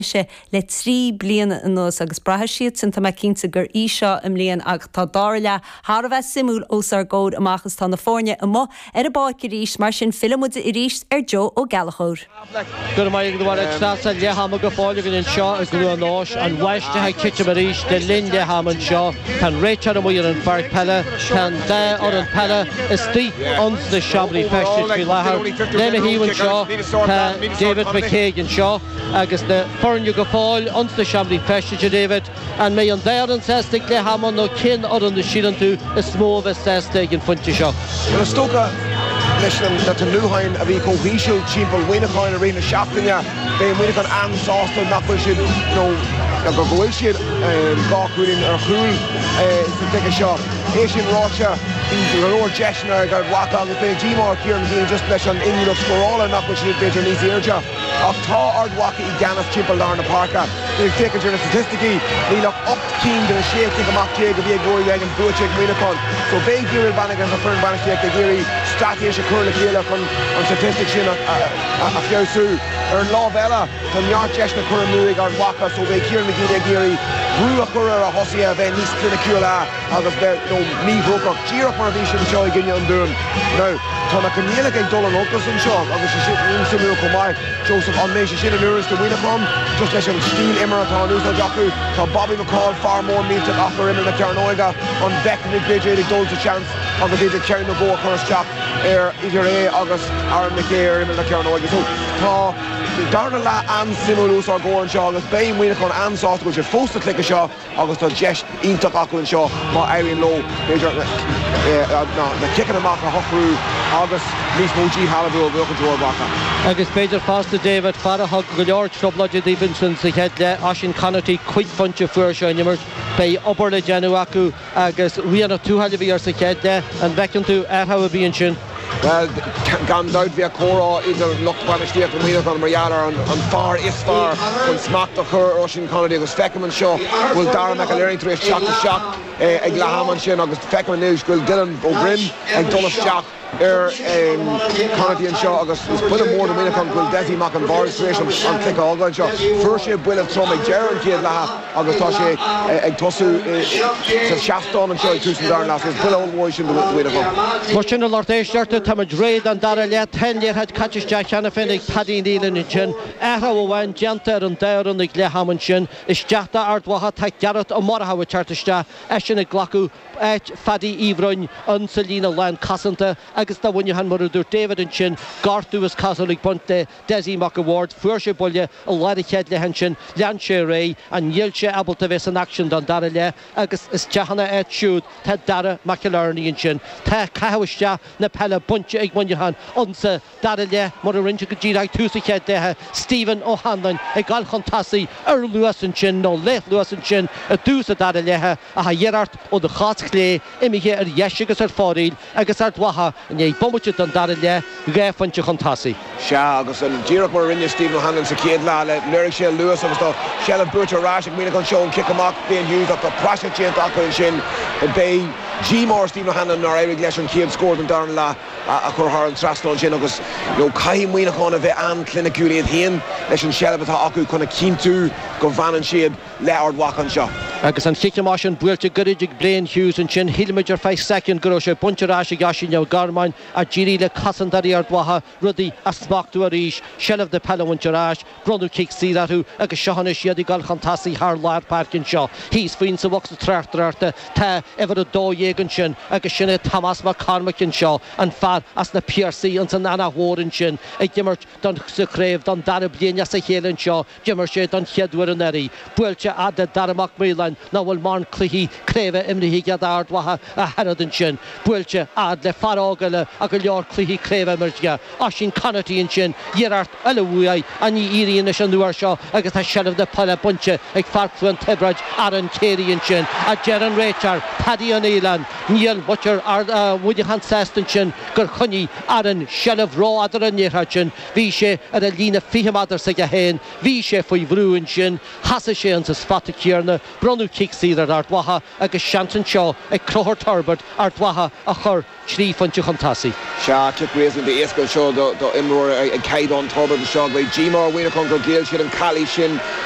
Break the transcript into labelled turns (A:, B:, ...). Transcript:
A: sé le 3 bliana anuas agus braithfidh siadsan, tá mé cinnte, gur í seo a mbliain ach tá dara leath thar a bheith suimiúil os ár gcomhair amach is tá na foirne amuigh ar an bpáirc arís, mar sin filleann muid arís ar Joe Ó Gallchóir.
B: Go raibh maith agat a Mhairéad. Treasa, leath ama go fóill againn anseo i gCluain Eois. An bháisteach ag titim arís le linn leath ama anseo. Tá an réiteoir amuigh ar an pháirc peile. Tá an dá fhoireann peile istigh ins na seomraí feistis faoi láthair. Le mo thaobh anseo tá David McCague anseo. Agus na foirne go fóill ins na seomraí feistis, a David, an mbeidh an dá fhoireann sásta ag leath ama nó cén fhoireann a síleann tú is mó a bheas sásta ag an phointe seo?
C: Bhuel, is dócha, leis na tnútháin a bhí chomh híseal timpeall Mhuineacháin i rith na seachtaine, beidh Muineachán an-sásta nach bhfuil siad, nó go bhfuil siad, 2 chúilín ar chúl sa gcluiche seo. É sin ráite, bhí go leor deiseanna ag Ard Mhacha agus beidh díomá ar Kieran McGeeney just leis an inniúlacht scórála nach bhfuil siad b'fhéidir níos airde. Ach tá Ard Mhacha i gceannas timpeall lár na páirce. Ag féachaint ar na staitisticí, níl ach 8 cinn de na 16 cic amach a bhí ag Rory Beggan buaite ag Muineachán. So beidh Gearóid Bannigan agus a foireann bainistíochta ag iarraidh straitéis a chur le chéile chun an staitistic sin a feabhsú. Ar an lámh eile, tá neart deiseanna curtha amú ag Ard Mhacha so beidh Kieran McGeeney ag iarraidh brú a chur ar a thosaithe a bheith níos cliniciúla. agus bheith you know míthrócaireach, díreach mar a bhí siad anseo i gcoinne an Dúin. Now, tá na coinníollacha ag dul in olcas anseo agus sé sin an-suimiúil chomh maith. Joseph, an mbeidh sé sin in oiriúint do Mhuineachán? Just leis an stíl imeartha atá in úsáid acu, tá Bobby McCaul, fear mór millteach acu ar imeall na cearnóige, an bhfeicfimid b'fhéidir iad ag dul sa seans agus b'fhéidir ceann nó dhó a chur isteach ar idir é agus Aaron McKay ar imeall na cearnóige. So, tá darna leath an-suimiúil os ár gcomhair anseo agus beidh Muineachán an-sásta go bhfuil siad fós sa chluiche seo. agus tá deis iontach acu anseo má éiríonn leo, b'fhéidir, na ciceanna amach a shocrú agus níos mó díshealbhú a bhuachaint ó Ard Mhacha.
B: Agus b'fhéidir fosta, David, fear a thug go leor trioblóide daoibh ansin sa chéad leath, Oisín Conaty, cuig phointe a fuair sé in imirt. Beidh obair le déanamh acu agus Rian Ó Tuathail a bhí air sa chéad leath. An bhfeiceann tú athrú ar bith ansin?
C: Bhuel, gan dabht bheadh comhrá idir lucht bainistíochta Mhuineacháin mar gheall ar an fear is fearr chun smacht a chur ar Oisín Conaty agus feicim anseo go bhfuil Dara McAlearney tar éis teacht isteach ag leath ama ansin agus feicim anois go bhfuil Dylan Ó Broin ag dul isteach ar Conaty anseo agus is buille mór do Mhuineachán go bhfuil Dessie Mac an Bhaird tar éis an cluiche a fhágáil anseo. Fuair sé buille trom ag deireadh an chéad leatha. agus tá sé ag tosú sa seastán anseo ag tús an dara leath, so is buille ollmhór é sin do Mhuineachán.
B: Mar sin, a lucht éisteachta, táimid réidh don dara leath. Tá an liathróid caite isteach cheana féin ag Paddy Nealon ansin. Athrú amháin déanta ar an dá fhoireann ag leath ama ansin. Isteach d'Ard Mhacha tá Gearóid Ó Murchú ag teacht isteach, eisean ag glacadh áit Phaddy Uí Bhroin insa líne lánchosanta agus do Mhuineachán, mar a dúirt David ansin, gortú is cosúil ag baint le Dessie Mac a' Bhaird, fuair sé buille i lár an chéad leath ansin, lean sé ar aghaidh, ach níl sé ábalta bheith san aicsean don dara leath agus isteach ina áit siúd tá Dara McInerney ansin. Tá caitheamh isteach na peile bainte ag Muineachán insa dara leath mar a rinne siad go díreach ag tús an chéad leatha, Stephen Ó hAnluain ag dul chun tosaigh ar luas ansin nó leathluas ansin i dtús an dara leatha ach a iarracht óna chos chlé imithe ar dheis agus ar fóraoil agus Ard Mhacha i ndiaidh bomaite den dara leath, 2 phointe chun tosaigh.
C: Sea, agus díreach mar a rinne Stephen O'Hanlon sa chéad leath, léirigh sé a luas agus tá seilbh buaite ar ais ag Muineachán anseo ón chic amach, Blaine Hughes, ach tá praiseach déanta acu ansin. Beidh díomá ar Stephen O'Hanlon nár éirigh leis an chéad scór den darna leath a chur thar an trasnán sin agus you know caithfidh Muineachán a bheith an-chliniciúil iad féin leis an seilbh atá acu chun a chinntiú go bhfanann siad le Ard Mhacha anseo.
B: Agus an chic amach sin buailte gairid ag Blaine Hughes ansin, shíl muid ar feadh soicind go raibh sé bainte ar ais ag Oisín Ó Gormáin ach d'éirigh le cosantóirí Ard Mhacha rudaí a smachtú arís, seilbh na peile a bhaint ar ais, bronnadh cic saor orthu agus seo anois iad ag dul chun tosaigh thar lár páirce anseo. Thíos faoi insa bhocsa tráchtaireachta tá uimhir 12 ansin agus sin é Tomás Mac Cormaic anseo, an fear as na Piarsaigh ins an Eanach Mhór ansin ag imirt don sa chraobh don dara bliain as a chéile anseo. D'imir sé don chéad uair anuraidh. Buailte fhad le Dara Mac Maoláin nach bhfuil mórán cluichí craoibhe imrithe aige d'Ard Mhacha ach oiread ansin. Buailte fhad le fear óg eile a go leor cluichí craoibhe imirte aige, Oisín Conaty ansin, iarracht eile uaidh ach ní éiríonn leis an uair seo agus tá seilbh na peile bainte ag fear Chluain Tiobraid, Aaron Carey ansin. Ach deir an réiteoir, Paddy Ó Nialláin, níl muintir Mhuineacháin sásta ansin gur choinnigh Aaron seilbh rófhada ar an liathróid sin. Bhí sé ar an líne 20 méadar s'aige féin. Bhí sé faoi bhrú ansin. Sheasaigh sé insa spota céanna. Bronnadh. Bronnadh cic saor ar Ard Mhacha agus seans anseo ag Conchúr Turbitt Ard Mhacha a chur trí phointe chun tosaigh.
C: Sea, cic réasúnta éasca anseo do imreoir ag caighdeán Turbitt anseo. Beidh díomá ar Mhuineachán gur ghéill siad an cailí sin sa.